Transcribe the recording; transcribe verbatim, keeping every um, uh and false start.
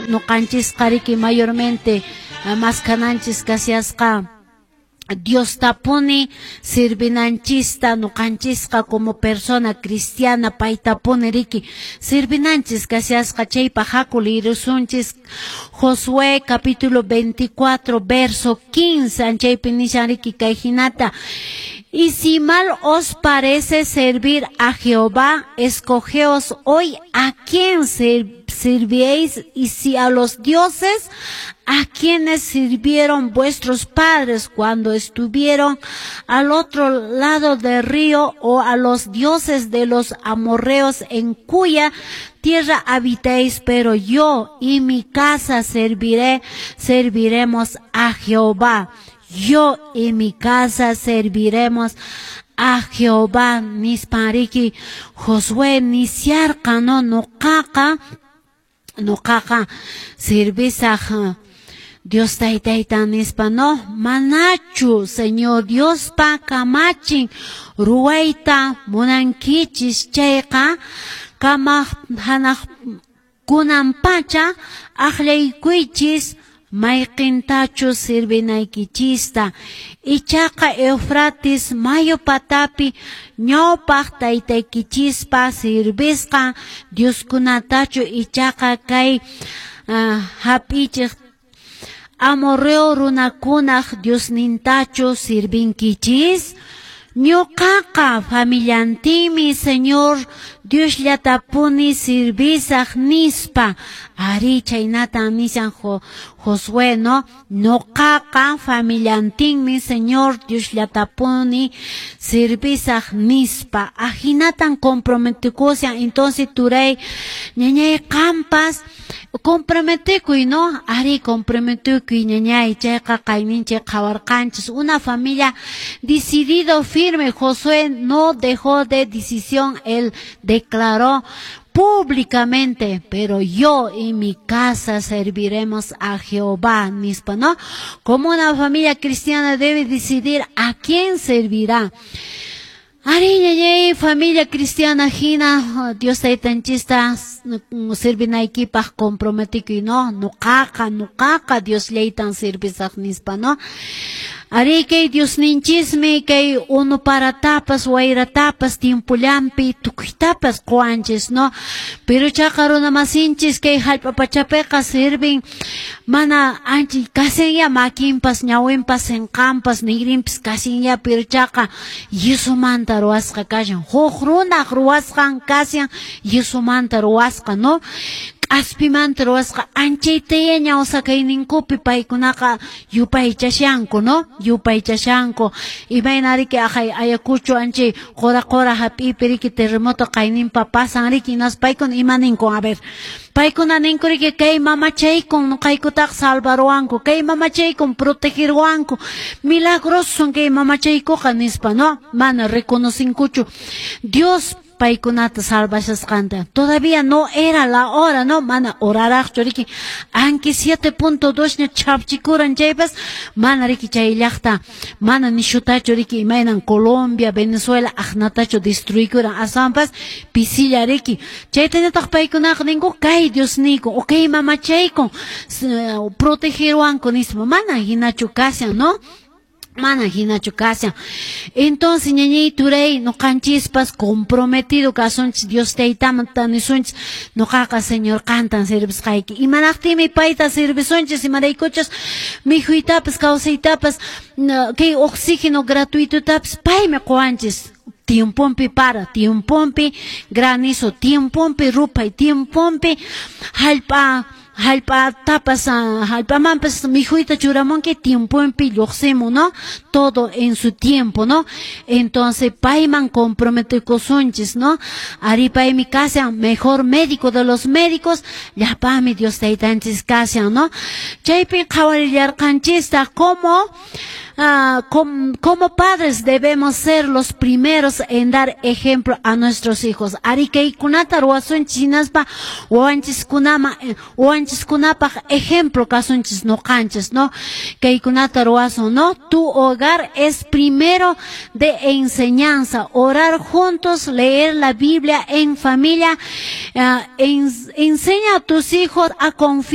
Nuqanchisqa riki mayormente maskananchis kashasqa Diostapuni sirvinanchista, nuqanchisqa como persona cristiana paytapuni riki sirvinanchis kashasqa. Chaypaq haku liyirusunchis Josué capítulo veinticuatro verso quince. Chaypi nishan riki kay hinata: "Y si mal os parece servir a Jehová, escogeos hoy a quién serviréis, y si a los dioses a quienes sirvieron vuestros padres cuando estuvieron al otro lado del río, o a los dioses de los amorreos en cuya tierra habitéis, pero yo y mi casa serviré, serviremos a Jehová". "Yo y mi casa serviremos a Jehová" nispan riki Josué nisharqa, no? Nuqaqa nuqaqa servisaq Dios taytayta nispa, no? Manachu Señor Diospa kamachin ruwayta munankichis chayqa, kamaq hanaq kunan pacha aqllaykuychis mayqintachus sirvinaykichista, ichaqa Eufrates mayu patapi ñawpaq taytaykichispa sirvisqan dioskunatachu, ichaqa kay uh, hap'ichiq amorreo runakunaq diosnintachu sirvinkichis. Ñuqaqa familiantinmi Señor Diosllatapuni servisaq nispa. Ari, chaynatan nishan Jo, Josué, no? "Ñuqaqa familiantinmi Señor Diosllatapuni servisaq" nispa. Ahinatan comprometekushan. Entonces, turay, ñañay, qampas comprometekuy, no? Ari, comprometekuy, ñañay, chayqa qayninchik qhawarqanchis. Una familia decidido firme. Josué no dejó de decisión, él declaró públicamente: "Pero yo y mi casa serviremos a Jehová", nispa, ¿no? Como una familia cristiana debe decidir a quién servirá. Ari, ñañay, familia cristiana hina Dios taytanchista servinaykipaq comprometikuy, no? Nuqaqa, nuqaqa Diosllaytan servisaq nispa, no? Ari, kay Diosninchismi kay unu paratapas, wayratapas, tiempollampi tukuytapas quwanchis, no? Pero chaqa runamasinchis kay hallp'a pachapiqa sirvin mana ancha kasinya makinpas, ñawinpas, sinqanpas, nigrinpas kasinya, pero chaqa yisumanta ruwasqa kashan, huk runaq ruwasqan kashan, yisumanta ruwasqa, no? K'aspimanta ruwasqa. Anchaytaya ñawsakayninkupi paykunaqa yupaychashanku, no? Yupaychashanku. Imayna riki aqhay Ayacucho anchay qura qura hap'ipi riki terremoto qayninpa pasan riki, hinaspa paykuna ima ninku? A ver, paykuna ninku riki: "Kay mamachaykun nuqaykutaqa salvaruwanku, kay mamachaykun protegerwanku, milagroso kay mamachaykuqa" nispa, no? Mana reconocinkuchu Dios paykunata salvashasqanta. Todavía no era la hora, no? Mana horaraqchu riki. Aunque siete punto dos ña chapchikuran chaypas, mana riki chay llaqta, mana nishutachu riki imaynan Colombia, Venezuela aqnatachu destruykuran, aswanpas pisilla riki. Chaytañataq paykunaqa ninku: "Kay Diosniyku, o kay mamachaykun protegerwanku" nispa. Mana hinachu kashan, no? Mana hinachu kashan. Entonces, ñañay, turay, nuqanchispas comprometido kasunchis Dios taytaman, nisunchis: "Nuqaqa Señor qantan servisqayki". Imanaqtinmi payta servisunchis? Imaraykuchus mikhuytapas, kawsaytapas, kay oxígeno gratuitotapas paymi quwanchis. Tiempompi para, tiempompi granizo, tiempompi ruphay, tiempompi hallp'a hallp'atapas, hallp'amanpas mikhuyta churamunki, tiemponpi lluqsimun, ¿no? Todo en su tiempo, ¿no? Entonces, payman comprometekusunchis, ¿no? Ari, paymi kashan mejor médico de los médicos, llapami Dios taytanchis kashan, ¿no? Chaypi qhawarillarqanchistaq como Ah, com, como padres debemos ser los primeros en dar ejemplo a nuestros hijos. Ari, kaykunata ruwasunchis hinaspa wawanchiskunama wawanchiskunapaq ejemplo kasunchis nuqanchis, ¿no? Kaykunata ruwasun, ¿no? Tu hogar es primero de enseñanza. Orar juntos, leer la Biblia en familia, uh, en, enseña a tus hijos a confiar